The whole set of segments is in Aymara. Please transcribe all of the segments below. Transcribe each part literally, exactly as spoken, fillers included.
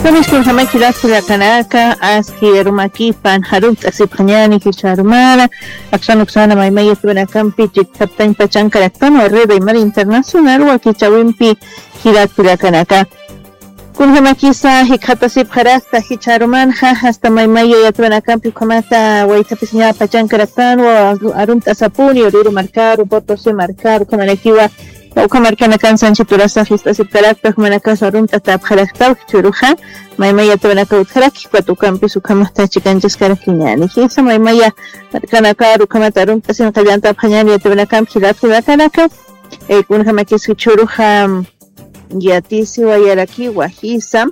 Tamiskunjama jilat kullakanaka, aski arumakipan jarumt'asipxañani jichharumana, aksan uksana maymaya tuwinakampi chikchaptañ pachankaraktan warrida imar internacional wakichawimpi jilat kullakanaka. Kunjamakisa jikxatasipxarakta jichharumanxa, hasta maymaya yatwinakampi ukhamata waytapisiña pachankaraktan wa arumt'asapuni, Oruro markaru, Potosí markaru, ukhamanakiwa Ukhamarkanakan sanchiturasax ist'asipkarakta, jumanakas arumt'atäpxaraktaw jichhüruxa, maymaya yatwanaka utjaraki, ukat ukampis ukhamata chikanchaskarakiñäni. Jisa maymaya markanakar ukhamata arumt'asin qallantapxañäni yatwanakamp jilat kullakanaka, eh, kunjamakis jichhüruxa yatisiwayarakiwa, jisa.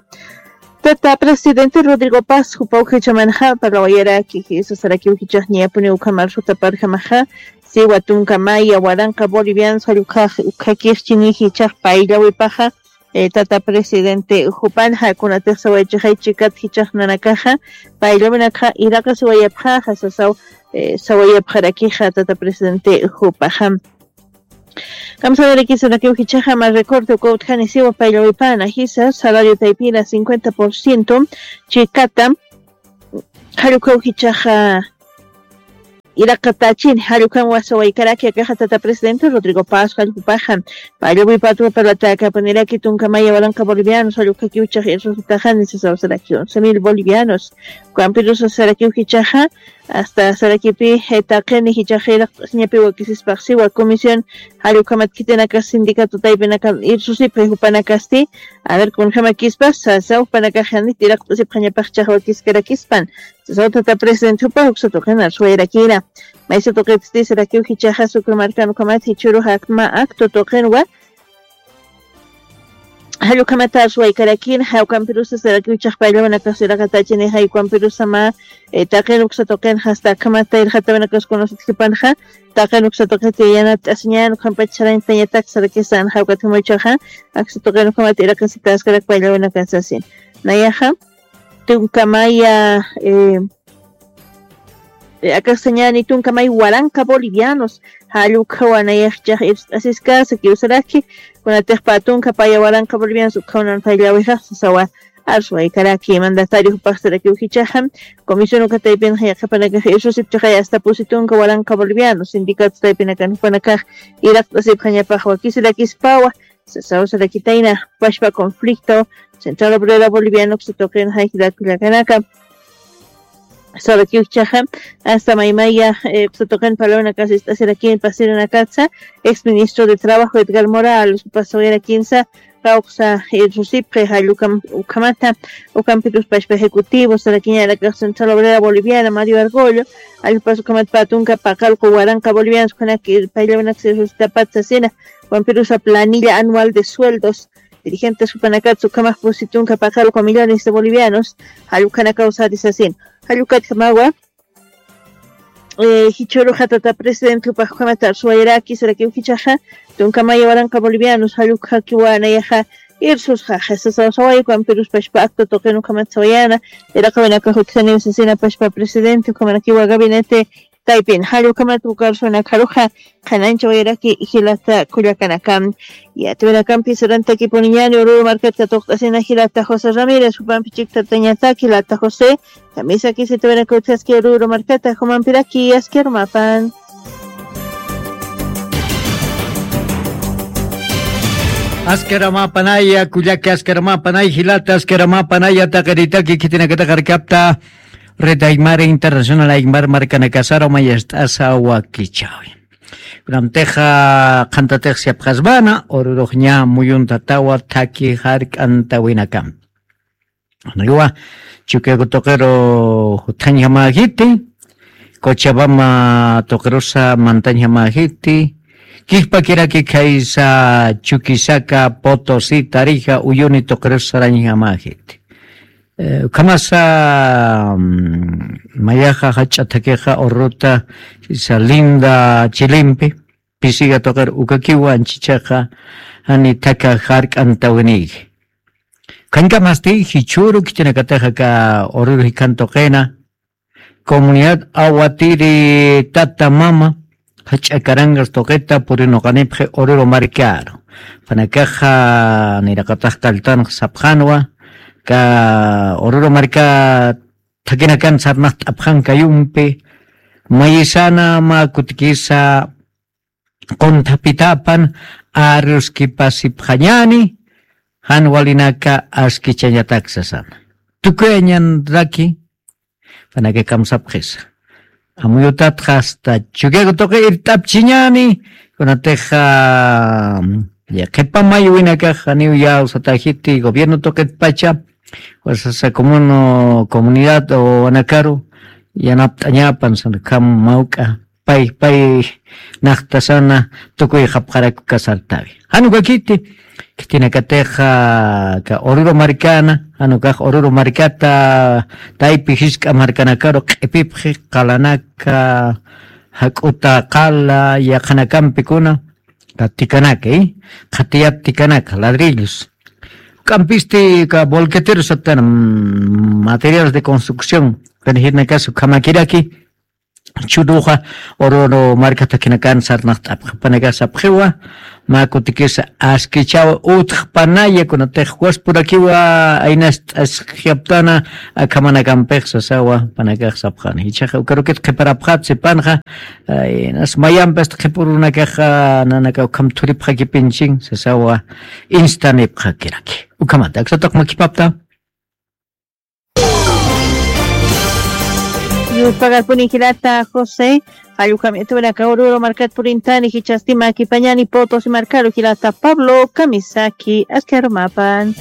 Tata presidente Rodrigo Paz, jupaw jichhamanxa parlawayaraki, jisa sarakiw jichhax ñapuni ukhamar sutaparjamaxa, siwa tunka maya waranqa bolivianos jallukhax ukhakix chini jichhax payllawipaxa, eh, tata presidente jupanxa, kunatix sawaychixay chikat jichhax nanakaxa, payllawinakxa iraqasiwayapxaxa, sasaw, eh, sawayapxarakixa tata presidente jupaxa. Kamsanarakisanakiw jichhaxa mä recorte uka utjani siwa payllawipana, jisa salario taypina cincuenta por ciento chikata, jallukhaw jichhaxa iraqatachini, jallukhan wasawaykaraki akaxa tata presidente Rodrigo Paz jallkupaxa, payllawipatwa parlatäkapuniraki tunka maya waranqa bolivianos jallukhakiw jichhax irsusitaxani sasawsaraki once mil bolivianos, ukampirusa sarakiw jichhaxa, hasta sarakipi, eh, taqini jichhax iraqt'asiñapi wakisispax siwa comisión, jallukhamat khitinakas sindicato taypinakan irsusipxi jupanakasti, a ver, kunjamakispas, sasaw jupanakax janit iraqt'asipxañapax jichhax wakiskarakispan, sasaw tata presidente jupax uksa tuqin arsuwayarakina. Maysa tuqitsti sarakiw jichhaxa Sucre markan ukhamat jichhürux akma acto tuqinwa, jallukhamata arsuwaykarakina, jawkampirusa sarakiw jichhax payllawinakas iraqatachini, jawkampirusa mä, eh, taqin uksa tuqin hasta akhamata irqatawinakas kunasat jipanxa, taqin uksa tuqit yanapt'asiñän, ukhampach sarañtañatak sarakisan, jawkat jumuchaxa, aksa tuqin ukhamat iraqasitaskarak payllawinakas sasin. Nayaxa, tunka maya, eh, eh, akasañäni tunka may waranqa bolivianos, jallukhawa nayax jichhax irst'asiskasa kiwsaraki, kunatix pä tunka paya waranqa bolivianos ukhaw nan payllawixax sasawa arsuwaykaraki. Mandatario jupax sarakiw jichhaxa, comisión uka taypinxa yaqhipanakax irsusipchixay hasta pusi tunka waranqa bolivianos, sindicato taypinakan jupanakax iraqt'asipxañapax wakisirakispawa, sasaw sarakitayna, pachpa conflicto, Central Obrera Boliviana uksa tuqin jay jilat kullakanaka. Sarakiw jichhaxa, hasta maymaya, eh, uksa tuqin parlawinakas ist'asirakin pasirinakatsa, ex ministro de Trabajo Edgar Morales, pasawayarakinsa, kawksa, eh, irsusipxi jallukam, ukhamata, ukampirus pachpa ejecutivo, sarakiñanakax Central Obrera Boliviana, Mario Argollo, jallpas ukhamat pä tunka paqallqu waranqa bolivianos, ukhanak, eh, payllawinaks irsusitapat sasina, ukampirusa planilla anual de sueldos, dirigentes jupanakatsa ukhamax pusi tunka paqallqu millones de bolivianos, jallukhanakaw sari sasin. Jallukatjamawa, eh, jichhüruxa tata presidente jupax ukhamata arsuwayaraki, sarakiw jichhaxa, tunka maya waranqa bolivianos, jallukhakiwa nayaxa, irsusxaxa, sasaw saway, ukampirus pachpa acto tuqin ukhamat sawayäna, iraqawinakax utjaniw sasina pachpa presidente, ukhamanakiwa gabinete, taypin, jallukhamat uka arsuwinakaruxa, qhanañchawayaraki jilata kullakanaka. Yatwinakampi sarantakipuniñäni Oruro markat katuqt'asina jilata José Ramírez, jupampi chikchatañatak jilata José, kamisakis yatwinaka utjaski Oruro markata, jumampiraki aski arumapan. Aski arumapanaya, kullaki aski arumapanay, jilata aski arumapanaya, taqinitaki khitinakatax arkapta, Red Aymara Internacional Aymar markanakasaru mayast'asa wakichäwi. Kunamtixa qhantatix yapxasmana, Orurux ña muyuntatawa thaki jark'antawinakampi. Niwa, Chukiyaku tuqiru juthañjamäjiti, Cochabamba tuqirusa mantañjamäjiti, kijpakiraki khaysa Chuquisaca, Potosí, Tarija, Uyuni tuqirusa sarañjamäjiti. Eh, ukhamasa, mm, mayaxa jach'a thakixa Orurota, khaysa Linda Chilimpi, pisiga tuqir ukakiwa anchichaxa, jani thaka jark'antawinïji. Ukhañkamasti jichhüru khitinakatix aka Oruro jikhan tuqina, comunidad Aguatiri tata mama, jach'a carangas tuqita purinuqanipxi Oruro markaru. Jupanakaxa niraqatax kalltanx sapxänwa, ka Oruro marka thakinakan sarnaqt'apxan kayumpi, mayisana mä kutikisa qunthapitapan arruskipasipxañäni, jan walinaka askichañatak sasana. Tukuyañanraki, panaka kamsapxisa. Amuyutatxa hasta Chukiyaku tuqi irt'apchiñäni, kunatixa, ya, qhipa mayuwinakax janiw yawsatäxiti gobierno tuqitpacha, fuerzasa comuno, comunidad o wanakaru, yanapt'añapan, sanakham mawk'a, pay, pay, naqtasana, tukuyxapxaraku kasartawi. Jan ukakiti, khitinakatixa, ka Oruro markana, jan ukax Oruro markata, taypi jisk'a markanakaru q'ipipxi, qalanaka, jak'uta qala, yaqhanakampikuna, ka tikanaka, ¿eh? Qhatiyat tikanaka, ladrillos. K'ampisti ka bolquetero satana, mm, materiales de construcción, kanijirnakas ukhamakiraki, churuxa, Oruro marka thakinakan sarnaqt'apxi, panakax sapxiwa, mä kutikisa askichawa utjpanaya, kunatix waspurakiwa, aynast'asxyaptana, akhamanakampix sasawa, panakax sapxani. Jichhaxa ukarukit qhiparapxat sipanxa, ay, nas mayampi hasta qhipurunakaxa, nanaka ukham thuripxakipinchin, sasawa, instanipxakiraki. Ukhamata, aksataq makipapta. Yuspagarpuni jilata José, jallukamitunaka Oruro markat purintani, jichhasti makipañani Potosí markaru jilata Pablo Kamisaki, aski arumapan.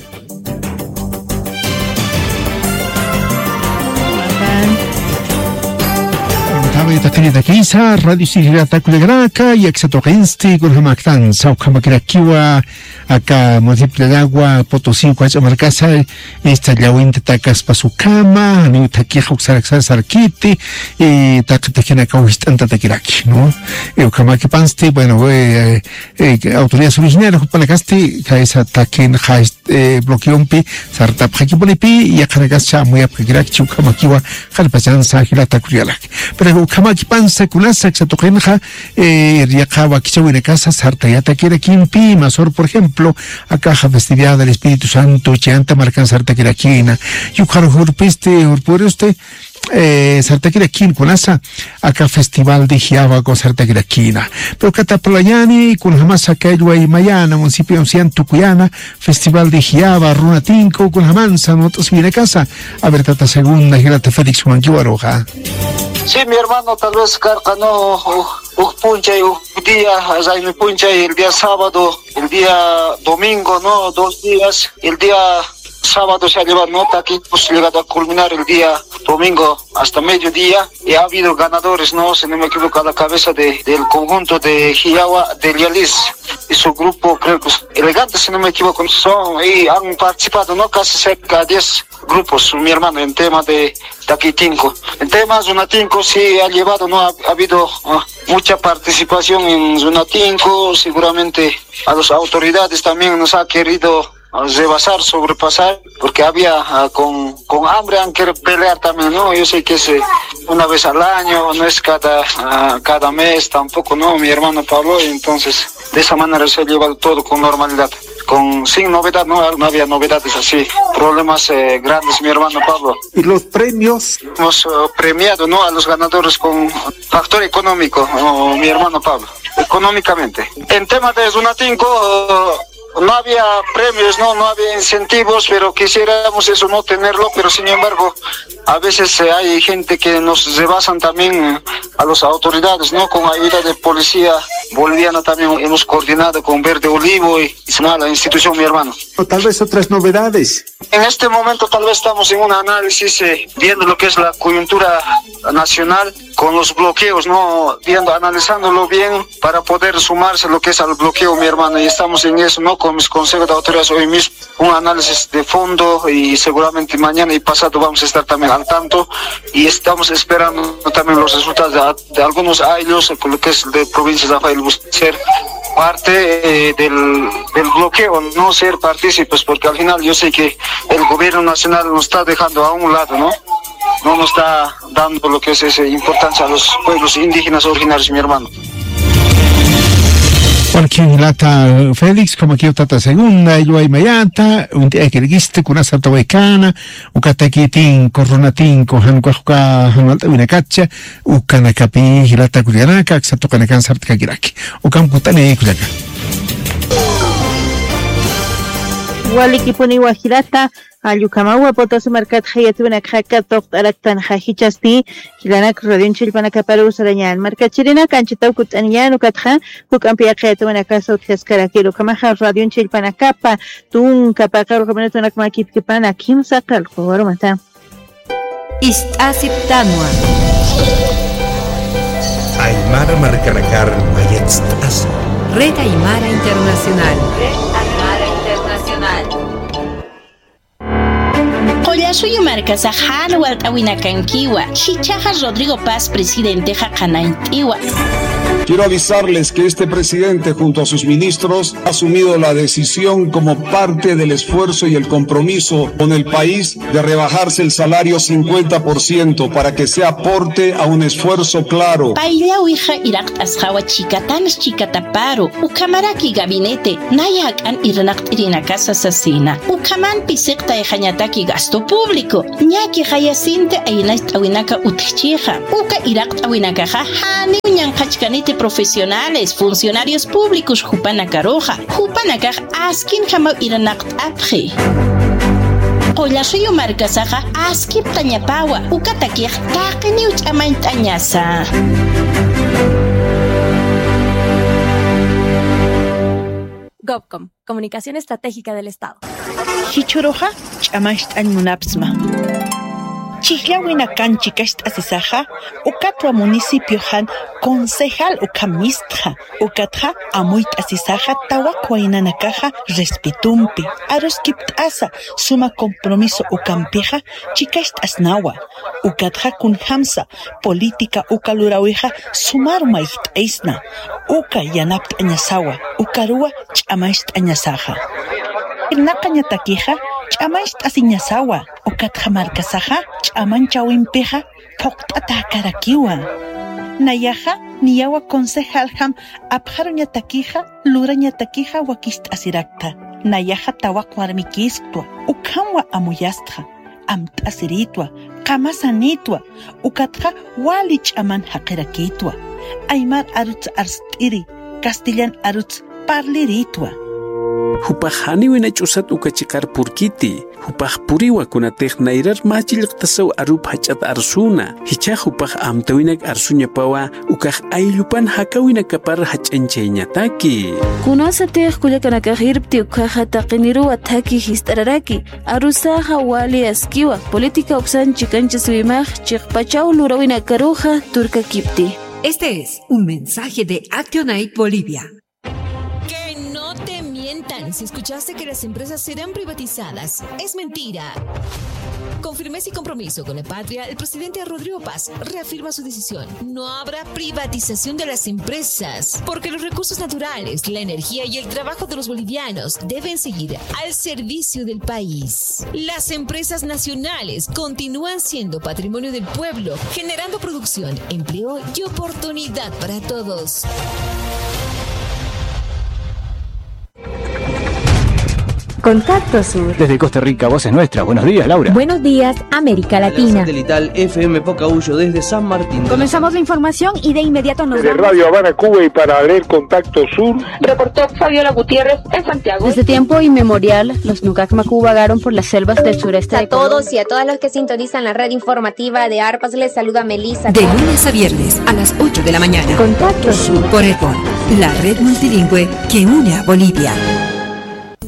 Taway taqinitakisa, radio sirata kullakanaka, yaksa tuqinsti, kunjamaktan, sawkhamakirakiwa, aka municipio de Aragua, Potosí, ukach'a markasa, esta llawinta takaspas ukhama, janiw thakix uksaraksar sarkiti, y taqi taqinaka wist'antatakiraki, ¿no? Y ukhamakipansti, bueno, eh, eh, autoridades originarias, jupanakasti, kaysa taqin, eh, bloqueompi, sartapxakipunipi, yaqhanakascha amuyapxakirakchi ukhamakiwa, qallpachansa jilata kullakanaka. Pero ukhamakipansa kunasa, aksa tuqinxa, eh, yaqha wakichäwinakasa sartayatakirakinpi, masor, por ejemplo, akaxa festividad del Espíritu Santo, chayanta markan sartakirakina. Yukharux urpisti, urpuristi, eh, sartakirakin kunasa, aka Festival de Jiyawa sartakirakina. Pero kataplañani, kunjamasa kallway mayana, municipio ancian tukuyana, Festival de Jiyawa, Runatinku, kunjamansa, not'as winakasa. A ver, tata segunda, jilata Félix Juan Kiwaroja. Sí, mi hermano, tal vez karqa, ¿no? Uj, uj p'unchay, uj día, raymi p'unchay, el día sábado, el día domingo, ¿no? Dos días, el día sábado se ha llevado, ¿no? Taquitos, llegado a culminar el día domingo hasta mediodía, y ha habido ganadores, ¿no? Si no me equivoco, a la cabeza de, del conjunto de Jiyawa de Lialis y su grupo, creo que es Elegante, si no me equivoco, son, y han participado, ¿no? Casi cerca de diez grupos, mi hermano, en tema de Taquitinku. En tema Zunatinku sí ha llevado, ¿no? Ha, ha habido, ah, mucha participación en Zunatinku, seguramente a las autoridades también nos ha querido, ah, rebasar, sobrepasar, porque había, ah, con, con hambre han querido pelear también, ¿no? Yo sé que es, eh, una vez al año, no es cada, ah, cada mes tampoco, ¿no? Mi hermano Pablo, y entonces de esa manera se ha llevado todo con normalidad, con, sin novedad, ¿no? No había novedades así, problemas, eh, grandes, mi hermano Pablo. Y los premios. Hemos, eh, premiado, ¿no? A los ganadores con factor económico, oh, mi hermano Pablo, económicamente. En tema de Zunatinku, eh, no había premios, ¿no? No había incentivos, pero quisiéramos eso no tenerlo, pero sin embargo, a veces, eh, hay gente que nos rebasan también, eh, a las autoridades, ¿no? Con ayuda de policía boliviana también hemos coordinado con Verde Olivo y, y la institución, mi hermano. O tal vez otras novedades. En este momento tal vez estamos en un análisis, eh, viendo lo que es la coyuntura nacional con los bloqueos, ¿no? Viendo, analizándolo bien para poder sumarse lo que es al bloqueo, mi hermano. Y estamos en eso, ¿no? Con mis consejos de autoridades hoy mismo, un análisis de fondo y seguramente mañana y pasado vamos a estar también al tanto. Y estamos esperando también los resultados de, de algunos ayllus, lo que es de provincia de Rafael Bucer, parte, eh, del, del bloqueo, no ser partícipes, porque al final yo sé que el gobierno nacional nos está dejando a un lado, ¿no? No nos está dando lo que es esa importancia a los pueblos indígenas originarios, mi hermano. Porque jilata Félix, como que tata segunda, illuwaymayata, uñt'ayakirkista, kunasata waykana, ukatakitin, corronatinku, jan ukax uka, jan walt'awinakatcha, ukanakapi, jilata kullakanaka, aksa tuqinakan sapxarakiraki. Ukham kut'ani kullaka. Walikipuniwa jilata, jall ukhamawa Potosí markatxa yatiyuwinakxa katuqt'araktanxa jichhasti, jilanak radioñ chillpanakaparu sarañän. Markachirinaka anchhitaw kut'aniñän ukatxa, juk'ampi yaqha yatiyuwinakasa utjaskarakiru. Ukhamaxa radioñ chillpanakapa tunka paqallqu minutunak mä kipkipana kimsa qallqu warumata. Ist'asiptanwa. Aymara markanakar mayatst'asa. Red Aymara Internacional. Red Aymara Internacional. Qullasuyu markasax jan walt'awinakankiwa, jichhaxa Rodrigo Paz presidentexa qhanañt'iwa. Quiero avisarles que este presidente, junto a sus ministros, ha asumido la decisión como parte del esfuerzo y el compromiso con el país de rebajarse el salario cincuenta por ciento para que sea aporte a un esfuerzo claro. Payllawixa iraqt'asxawa chikatanx chikataparu, ukhamaraki gabinete, naya jak'an irnaqt'irinakasa sasina. Ukhaman pisiqtayxañataki gasto público. Ñakixayasinti aynacht'awinaka utjchixa. Uka iraqt'awinakaxa janiw ñanqhachkaniti profesionales, funcionarios públicos jupanakaruxa. Jupanakax askinjamaw irnaqt'apxi. Qullasuyu markasaxa askiptañapawa, ukatakix taqiniw ch'amañt'añasa. Gobcom, Comunicación Estratégica del Estado. Jichhüruxa ch'amañcht'añ munapsma. Chhijllawinakan chikacht'asisaxa, ukatwa municipioxan concejal ukham mistxa, ukatxa amuyt'asisaxa tawak waynanakaxa respetompi, aruskipt'asa suma compromiso ukampixa chikacht'asnawa, ukatxa kunjamsa política uka lurawixa sumaru mayjt'aysna, uka yanapt'añasawa, ukaruwa ch'amañcht'añasaxa. Irnaqañatakixa ch'amañcht'asiñasawa, ukatxa markasaxa ch'amañchawimpixa phuqt'atäkarakiwa. Nayaxa niyawa concejaljam apxaruñatakixa, lurañatakixa wakicht'asirakta. Nayaxa tawaq warmikïsktwa, ukhamwa amuyastxa. Amt'asirïtwa, qamasanïtwa, ukatxa wali ch'aman jaqirakïtwa. Aymar aruts arst'iri, castellan aruts parlirïtwa. Jupax janiw ina ch'usat uka chiqar purkiti, jupax puriwa kunatix nayrar mä chillqtasaw arup jach'at arsuna, jichhax jupax amtäwinak arsuñapawa, ukax ayllupan jakäwinakapar jach'añchayañataki. Kunasatix kullakanakax irpti ukkhaxa taqiniruwa thakhi jist'araraki, arusaxa wali askiwa, política uksan chikanchasiwimax chiqpachaw luräwinakaruxa turkakipti. Este es un mensaje de Actionaid Bolivia. Que no te mientan. Si escuchaste que las empresas serán privatizadas, es mentira. Con firmeza y compromiso con la patria, el presidente Rodrigo Paz reafirma su decisión. No habrá privatización de las empresas, porque los recursos naturales, la energía y el trabajo de los bolivianos deben seguir al servicio del país. Las empresas nacionales continúan siendo patrimonio del pueblo, generando producción, empleo y oportunidad para todos. Contacto Sur. Desde Costa Rica, voz es nuestra. Buenos días, Laura. Buenos días, América Latina. Satelital F M Pocahuyo desde San Martín. Comenzamos la información y de inmediato nos vamos. Desde Radio Habana, Cuba, y para leer Contacto Sur. Reportó Fabiola Gutiérrez en Santiago. Desde tiempo inmemorial, los Nukak Maku vagaron por las selvas del sureste de Colombia. A todos y a todas los que sintonizan la red informativa de Arpas, les saluda Melissa. De lunes a viernes a las ocho de la mañana. Contacto Sur. Por Econ, la red multilingüe que une a Bolivia.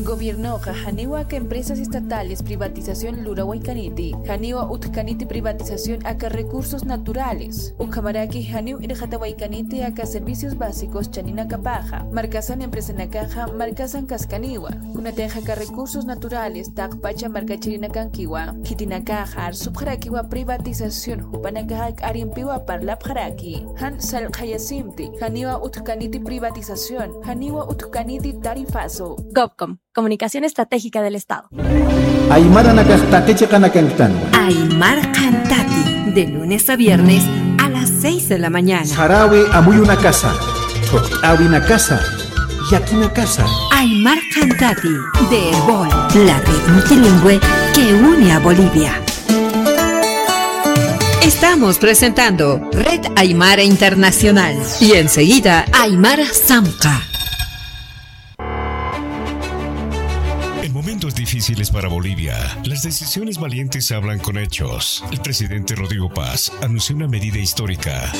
Gobiernoxa janiw aka empresas estatales privatización lurawaykaniti, janiwa utjkaniti privatización aka recursos naturales, ukhamaraki janiw irxatawaykaniti aka servicios básicos chaninakapaxa, markasan empresanakaxa markasan kaskaniwa, kunatixa aka recursos naturales taqpacha markachirinakankiwa, khitinakaxa arsupxarakiwa privatización jupanakaxa k'arimpiwa parlapxaraki, jan sallqhayasimti, janiwa utjkaniti privatización, janiwa utjkaniti tarifazo. Gobcom, Comunicación Estratégica del Estado. Aymaranakax taqi chiqanakanktanwa. Aymar Qhantati, de lunes a viernes a las seis de la mañana. Sarawi amuyunakasa, thuqt'awinakasa, Yakinakasa. Aymar Cantati, de Erbol, la red multilingüe que une a Bolivia. Estamos presentando Red Aymara Internacional y enseguida Aymara Samca. En momentos difíciles para Bolivia, las decisiones valientes hablan con hechos. El presidente Rodrigo Paz anunció una medida histórica.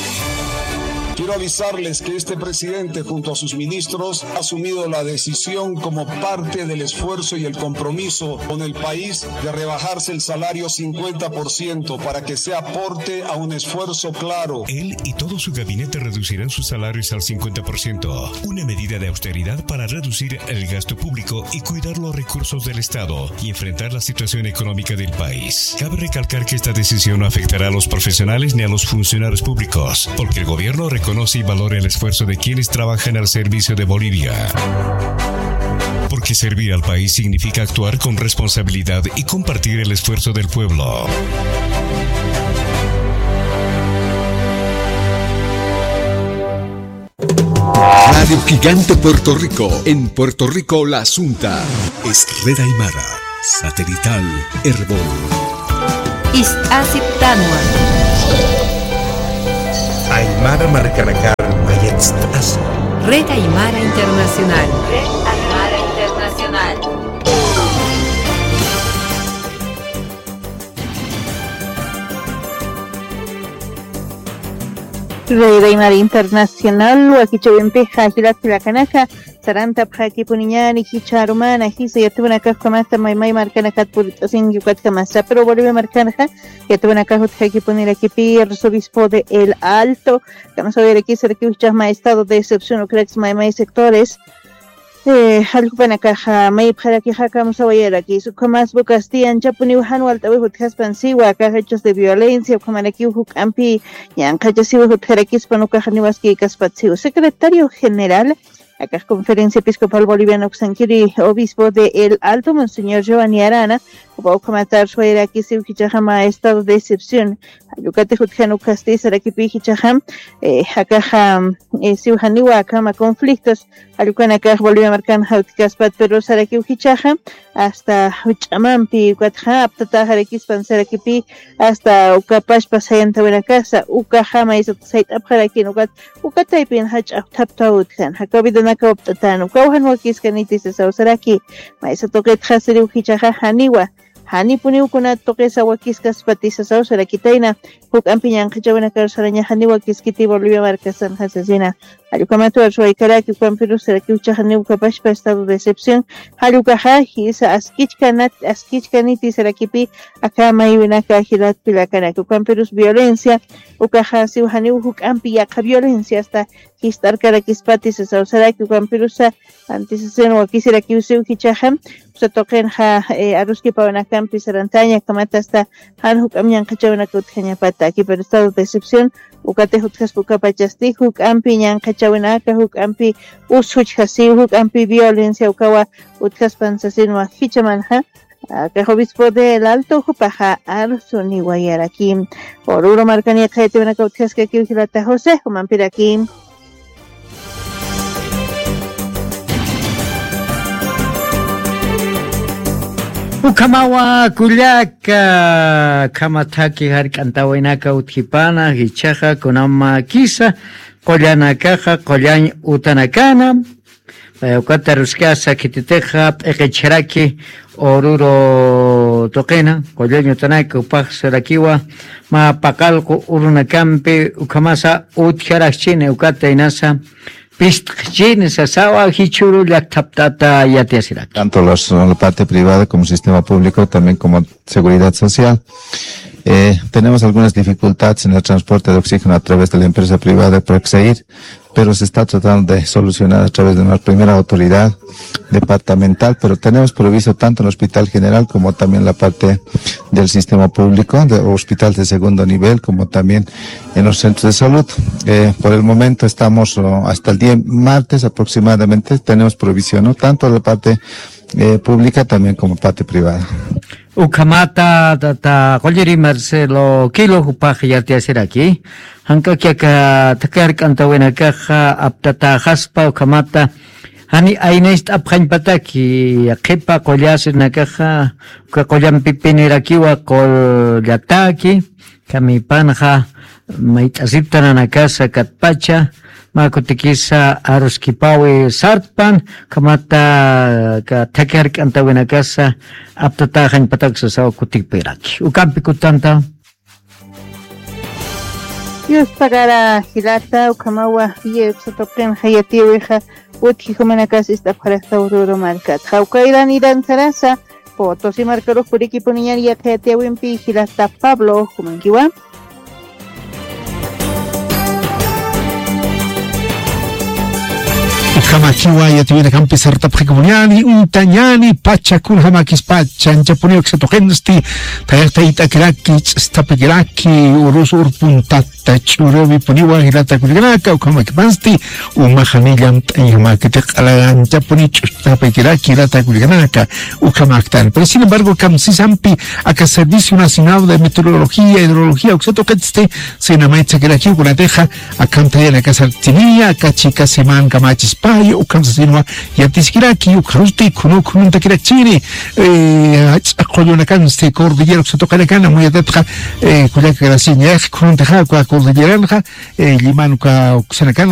Quiero avisarles que este presidente, junto a sus ministros, ha asumido la decisión como parte del esfuerzo y el compromiso con el país de rebajarse el salario cincuenta por ciento para que sea aporte a un esfuerzo claro. Él y todo su gabinete reducirán sus salarios al cincuenta por ciento, una medida de austeridad para reducir el gasto público y cuidar los recursos del Estado y enfrentar la situación económica del país. Cabe recalcar que esta decisión no afectará a los profesionales ni a los funcionarios públicos, porque el gobierno reconoce y valora el esfuerzo de quienes trabajan al servicio de Bolivia. Porque servir al país significa actuar con responsabilidad y compartir el esfuerzo del pueblo. Radio Gigante Puerto Rico, en Puerto Rico la Asunta. Es Red Aymara, satelital, Erbol. Ist'asiptanwa. Aymara markanakar mayatst'asa. Red Aymara Internacional. Red Aymara Internacional. Red Aymara Internacional, wakichawimpixa jilat jilakanaka, sarantapxakipuniñani jichha arumana, jisa yatipanakas ukhamata maymay markanakat purt'asinki ukatkamasa, pero Bolivia markanxa, yatipanakas utjakipunirakipi, arzobispo de El Alto, kamasa wayarakisarakipxchama estado de excepción, ukarakis maymay sectores, Eh, jallkupanakaxa maypxarakixa kamsawayaraki, ukhamas bu Castilla anchapuniw jan walt'awix utjaspan siwa, akax hechos de violencia, ukhamarakiw juk'ampi ñanqhachasiwix utjarakispan, ukax niwaskïkaspat siw. Secretario general, akax Conferencia Episcopal Boliviana uksankiri, obispo de El Alto, Monseñor Giovanni Arana, jupa ukhamat arswayarakisiw jichhaxama estado de excepción. Jallukatix utjan ukasti sarakipi jichhaxam, eh, akaxa, eh, siw janiwa akhama conflictos, jallkupanakax Bolivia markanxa utjkaspat, pero sarakiw jichhaxa, hasta juch'amampi, ukatxa aptataxarakispan sarakipi, hasta ukapachpa sayantawinakasa, ukaxa maysat sayt'apxarakin, ukat, uka taypin jach'a apthaptaw utjan, jakaw vidanakaw apt'atan, ukaw jan wakiskaniti sasaw saraki, maysa tuqitxa siriw jichhaxa janiwa, janipuniw kunat tuqisa wakiskaspati sasaw sarakitayna, juk'ampi ñanqhachawinakar sarañaxa niwa kiskiti Bolivia markasanxa sasina. Jallukhamat arswaykaraki, ukhampirus sarakiw jichhaxa niw ukapachpa estado de excepción, jallukaxa jisa askichkanat, askichkaniti sarakipi, aka maywinaka jilat jilakanaka, ukhampirus violencia, ukaxa siw janiw juk'ampi yaqha violencia hasta jist'arkarakispati sasaw saraki, ukhampirusa antisasiwan wakisirakiw siw jichhaxa, usa tuqinxa, eh, aruskipawinakampi sarantaña, ukhamat hasta jan juk'amp ñanqhachawinaka utjañapata, pero estado de excepción, ukatix utjaspa ukapachasti, juk'ampi ñanqhachawinaka, juk'ampi us juchjasiw, juk'ampi violencia ukawa utjaspan sasinwa jichhamanxa, akax obispo de El Alto, jupaxa arsuniwayaraki. Oruro markani yaqhayatiwinaka utjaskakiw jilata José, jumampiraki. Ukhamawa kullaka, khama thaki jark'antawinaka utjipana, jichhaxa kunamakisa, qullanakaxa, qullañ utanakana, eh, ukat aruskasa khititixa p'iqichharaki Oruro tuqina, qullañ utanaka, jupax sarakiwa, mä paqallqu urunakampi, ukhamasa utjarakchini, ukat aynasa pist'kchini sasawa, jichhüru llakthapt'ata yatiyasiraki. Tanto los, la parte privada como sistema público, también como seguridad social. Eh, tenemos algunas dificultades en el transporte de oxígeno a través de la empresa privada Praxair, pero se está tratando de solucionar a través de una primera autoridad departamental, pero tenemos provisto tanto en el hospital general como también la parte del sistema público, de hospitales de segundo nivel, como también en los centros de salud. Eh, por el momento estamos, oh, hasta el día martes aproximadamente, tenemos provisión, ¿no? Tanto la parte, eh, pública también como parte privada. Ukhamata, tata, qulliri Marcelo Quilo, jupax yatiyasiraki. Jank'aki aka thaki jark'antawinakaxa aptataxaspa, ukhamata, Jani aynayst'apxañpataki, qhipa qullasirinakaxa, uka qullampipinirakiwa qullataki, kamipanxa mayt'asiptananakasa katpacha, mä kutikisa aruskipawi sartpan, ukhamata ka thaki jark'antawinakasa aptataxañpatak sasaw kutikpiraki. Ukampi kutanta. Dios pagara jilata, ukhamawa, yepsa tuqinxa yatiyawixa, utji jumanakas ist'apxarasta Oruro markat. Jawkairan iran sarasa, Potosí markarux purikipuniñan yaqha yatiyawimpi jilata Pablo, jumankiwa. Ukhamakiwa yatiwinakampi sartapxikapuniani, untañani, pacha kunjamakispacha, anchapuniw aksa tuqinsti, tayaqtaytakiraki, ch'stapikiraki, urus urpuntata, ch'urüwipuniwa jilata kullakanaka, ukhamakipansti, umaxani llamt'añjamakiti q'ala anchapuni ch'ustapikiraki, jilata kullakanaka, ukhamaktan. Pero sin embargo, kamsisampi, aka Servicio Nacional de Meteorología, Hidrología, uksa tuqitsti, sinamaytsakirakiw kunatixa, akham thayanakasartiniya, aka chika seman kamachispayu, ukham sasinwa yatiskiraki, ukharusti khunu khununtakirakchini, eh, ach'a qullunakansti cordillera uksa tuqinakan, amuyatatxa, eh, kullaka grasiñax khununtixa, uka cordilleranxa, eh, lliman uka uksanakan,